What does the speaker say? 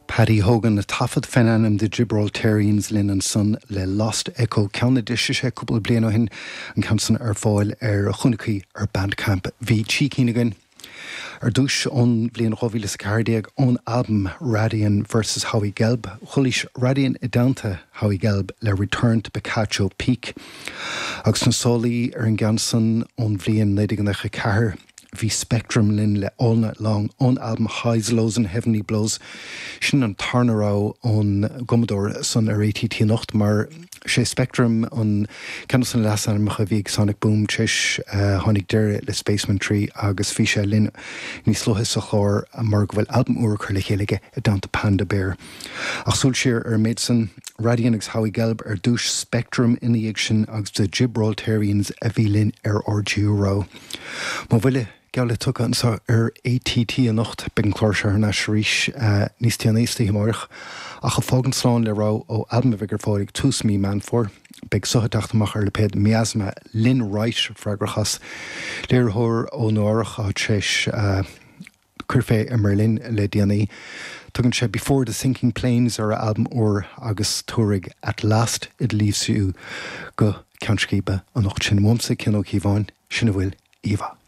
Paddy Hogan, a taifead fén ainm The Gibraltarians linn ansan le Lost Echo, ceann a d'eisigh sé cúpla bliain ó shin, an ceann san ar fáil ar chúnaicí ar Bandcamp. Bhí trí cinn againn ar dtús ón bhliain 2014 ón albam Radian vs Howie Gelb. Chualaís Radian i dteannta Howie Gelb le Return to Picacho Peak. Agus na sálaí ar an gceann san ón bhliain 1994. Bhí Spectrum linn le All Night Long ón albam Highs, Lows and Heavenly Blows. Sin an tarna rogha ón gcumadóir san ar ATT anocht mar sé Spectrum an ceann dos na leasainmneacha a bhí ag Sonic Boom tar éis tháinig deireadh le Spacemen 3 agus bhí sé linn níos luaithe sa chlár mar go bhfuil albam úr curtha le chéile aige i dteannta Panda Bear. Ach súil siar ar an méid san, Radian agus Howie Gelb ar dtús, Spectrum ina dhiaidh sin agus The Gibraltarians a bhí linn ar ár dtríú rogha. Mo bhuille geall le tugtha anseo ar ATT anocht. Beidh an clár seo thar n-ais arís níos déanaí istoíche amáireach. Ach ag fágaint slán le rogha ó albam a bheidh ar fáil ag tús mí Meán Fómhair. Beidh seo ag teacht amach ar lipéad Miasma. Lynn Wright freagrach as. Léiritheoir ó Nua Eabhrach atá tar éis cur fé i mBerlin le déanaí. Tugann sé Before the Sinking Planes ar a albam úr agus tabharfaidh At Last It Leaves You go ceann scríbe anocht. Sin uaimse, Cian Ó Cíobháin, sin a bhfuil, íomhá.